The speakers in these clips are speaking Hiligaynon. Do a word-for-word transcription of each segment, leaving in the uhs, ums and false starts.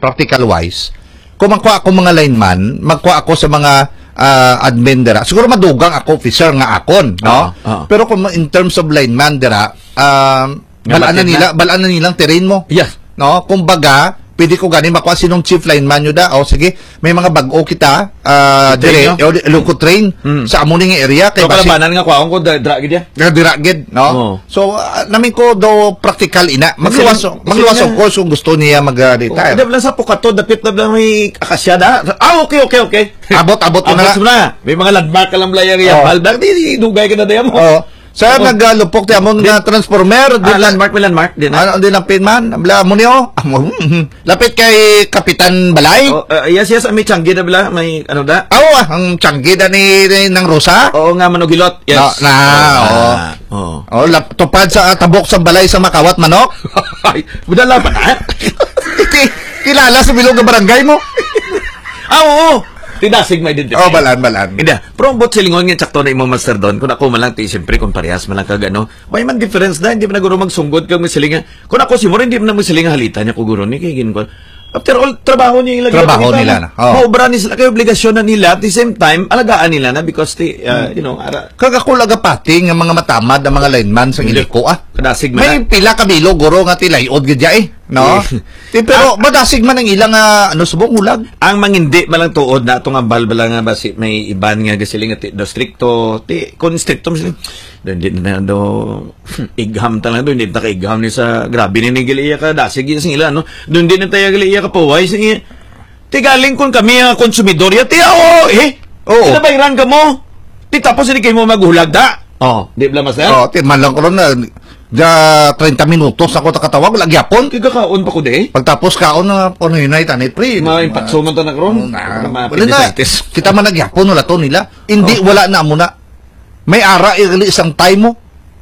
practical wise, kung magkuha ako mga lineman, magkuha ako sa mga, ah, admin dira. Siguro madugang ako, officer nga akon, no? Oo, oo. Pero kung in terms of lineman dira, um, Nga balaan na mati na. nila, balaan na nilang terrain mo. Yes. No? Kumbaga, pwede ko gani makuha sinong chief lineman nyo da. O sige, may mga bag-o kita, ah, Train dire, nyo? o, loco train Mm. sa amo ning area. Kay So, basi kalabanan nga kwaon ko, da-, dra gid yan. Nga dira gid, no? Oo. So, ah, namin ko do practical ina. Kasi Magluwas, lang, magluwas kasi of nga course kung gusto niya mag, ah, Oo, retire. Dab lang sa Pukato, dapit na lang may akasya na. Ah, okay, okay, okay. Abot, abot ko na Abot nga. mo na. May mga landmark ka lang, Blaya, Oo. Yabal. Dahil di, di, dugay ka na, Daya mo. Oo. Sa Oo. nagalupok ti amon Di- nga transformer, di Ah, na landmark, may landmark. Di na. Ano, di lang pin man? Bla mo niyo? Amo, lapit kay Kapitan Balay? Oh, uh, yes, yes, may Changi na bala, may ano da? Aw, ah, ang Changi da ni, ni Nang Rosa? Oo nga, manugilot. Yes. Na, na, Ah, oo. oo. Oh, lap-, tupad sa tabok sa balay sa Makawat, manok? Ay, budala pa na? Ki-, kilala sa bilog nga barangay mo? Ah, oo. Tinasig may din. Oh, balan, balan. Hindi, pero ang buot silingon nga sakto na imo, Master Don, kung ako man lang, ti, siyempre, kung parehas man lang kag ano, may man difference na, hindi man na guro magsunggod kag magsiling nga, kung ako si Mor, hindi man na magsiling nga halita niya ko guro ni, kay gin-, after all, trabaho niya ila Trabaho ginapagitan. nila na. Oh. Maobra ni sila, kay obligasyon na nila, at the same time, alagaan nila na because, ti, uh, you know, ara, Kag ako lagapati nga mga matamad ang mga lineman sa Hindi. Iliko, ah. Kadasig man May na. pila ka bilog, guro, nga ti layod gid ya, eh, no? Eh. Ti, pero Ah. madasig man ang ilang, ah, ano, subong hulag. Ang mangindi man lang tuod na atong ambal bala nga basi may iban nga gasiling nga ti, daw strikto, ti, kung strikto, mas, daw hindi na daw igham talaga, daw hindi na ka-igham ni sa, grabe ni, ni gali iya ka dasig, iya sing ila, no? Daw hindi na tayo gali iya ka paway, sing iya. Ti galing kun kami ang konsumidor, ya, ti, oo, eh. Oo. Pinabayran ka mo. Ti tapos hindi kayo mo maghulag, da? Oh. Di bala, Master? Oh, ti man lang ko ron na, da, treinta minutos ako takatawag, wala gyapon. Kaya kaon pa ko, di? Pagtapos kaon na, ano yun, ay, tanay, pre. Mga impatso man tanak ron. Oo, na. Mga Wala na. Pindisaltis. Kita man nagyapon, wala to nila. Hindi, Oh. wala na mo na. May ara, igali isang time mo.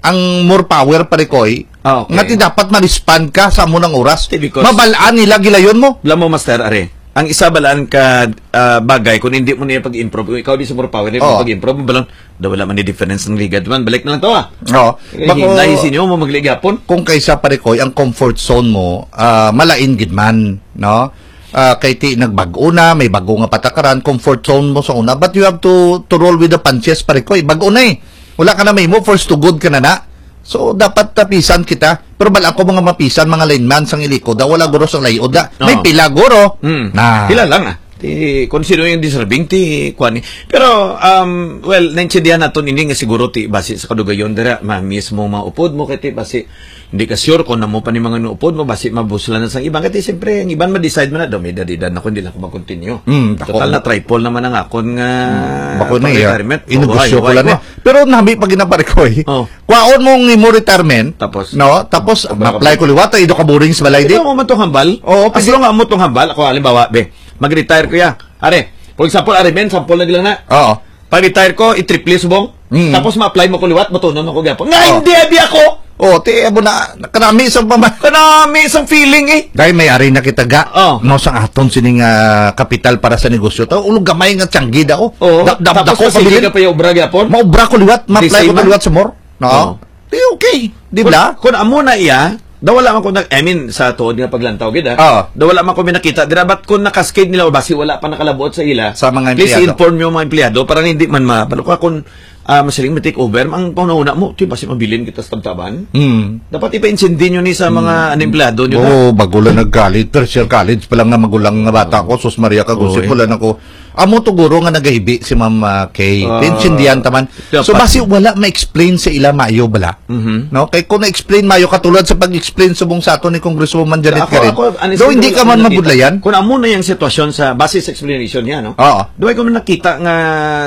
Ang more power, pare ko, eh. Ah, okay. Nga ti dapat ma-respond ka sa amo nang oras. Ti, because Mabalaan nila gilayon mo. Alam mo, Master, are, ang isa balaan ka, ah, bagay, kung hindi mo niya pag-improve, kung ikaw di sa more power, di mo Oo. pag-improve, balon, daw wala man ni difference ng ligad man. Balik na lang to, ah. Oo. Eh, Bako, hinay sa inyo, mo magligapon. Kung kaysa, pare ko, ang comfort zone mo, ah, malain gid man, no? Ah, kay ti nagbag-o na, may bago nga patakaran, comfort zone mo sa una, but you have to, to roll with the punches, pare ko, eh. Bago na, eh. Wala ka na mahimo, first to good ka na na. So, dapat tapisan kita. Pero bala ako mga mapisan, mga lineman sang Iliko, da wala guro sa layo, da. May Oo. pila guro. Hmm. Na. Pila lang, ah. Ti, kung sino yung deserving, ti, kuwan, eh. Pero, um, well, naintindihan naton ini nga siguro, ti, basi sa kadugayon dira, ma-miss mo mga upod mo, kay ti, basi, hindi ka sure kung namo pa ni mga upod mo, basi mabuslan na sang iban. Kay ti, siyempre, ang iban ma-decide man na, daw, may edad-edad na ko, hindi lang ko mag-continue. Hmm, dako. Total na triple naman ang akon nga Hmm. Bako na, iya. pang-retirement. Inugusyo Oo, ko ay, lang ay, eh. Pero nami pa ginapare ko, eh. Oh. Kwaon mo ang imo retirement, Tapos? no? Tapos, Tapos ma-apply ko liwat, ay, do ka boring sa balay, di? Ikaw mo man tong hambal? Oo, As pwede. long nga mo tong hambal, ako, halimbawa, be, mag-retire ko ya. Are, for example, are, men, sample na lang na. Oo. Pag-retire ko, i-triple subong. Mm. Tapos ma-apply mo ko liwat, matunon ako gyapon. Nga, Oh. hindi, abi ako! Oh, ti, abo na, kanami sa pama- Kanami sa feeling, eh. Dahil may ari na kita ga, Oh. no, sa aton sining, ah, kapital para sa negosyo. Ta, ulog gamay nga tiyanggi da, oh. Oh, Da-, da-, tapos dako kasi pabilin. hindi ka pa yung obra gyapon? Maobra ko liwat, ma-apply Di ko same na man. liwat sa more. No? Oh. Di okay, di Kun, ba? kun amo na iya, da wala man ko na, I mean, sa tuod nga paglantaw gid, ah. Oo. Da wala man ko may nakita dira, but kung nakaskid nila o basi wala pa nakalabuot sa ila, Sa mga please empleyado. inform yung mga empleyado para hindi man ma-, balo ka kung, ah, masiling may take over, ang panghuna mo, ti, basi mabilin kita sa tabtaban. Hmm. Dapat ipa-intindi nyo ni sa mga Hmm. ano, empleyado nyo, Oo, da. bago lang nag-college, first year college pa lang nga magulang nga bata Oo. ko, sus Maria, kagusip Oo, eh. ko lang ako. Amo to guro nga nagahibi si Ma'am, ah, Kay. Ah, Intindihan taman. dapat. So, basi wala ma-explain sa ila maayo bala. Mhm. No? Kay kung na-explain maayo, katulad sa pag-explain subong sa ato ni Congresswoman Janet Ako, Karen, ako, honestly, though hindi wala ka man akong nakita. mabudlayan. Kung amo na yung sitwasyon sa, base sa explanation niya, no? Oo. Duway ko man nakita nga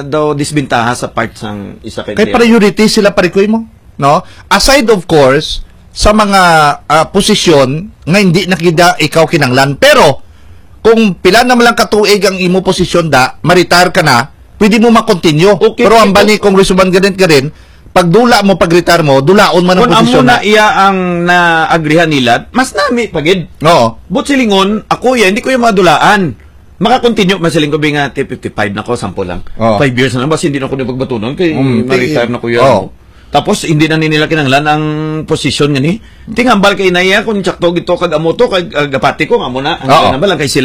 daw disbentaha sa part sang isa ka Kay empleyado. priority sila, pare ko, mo, no? Aside, of course, sa mga, ah, posisyon nga hindi na gid ikaw kinanglan. Pero, kung pila na man lang katuig ang imo posisyon da, ma-retire ka na, pwede mo ma-continue. Okay, Pero ang okay. bali, Congresswoman Janet Karen, pag dula mo, pag retire mo, dulaon man ang Kung amo posisyon na na. iya ang naagrihan nila, mas nami pa gid. Oo. But silingon, ako ya, hindi ko yung madulaan. Maka-continue man siling ko, bi nga, ti fifty-five na ko, sample lang. Oo. Five years na lang, basta hindi na ko na pagbatunon, kay Mm, ma-retire ti-, na ko yan. oo. Tapos, hindi na nila kinanglan ang posisyon nga ni. Tingambal kay na iya, kung tsakto gito, kag amo to, kag, ah, gapati ko, nga mo na, ang Oo. kinambal lang kay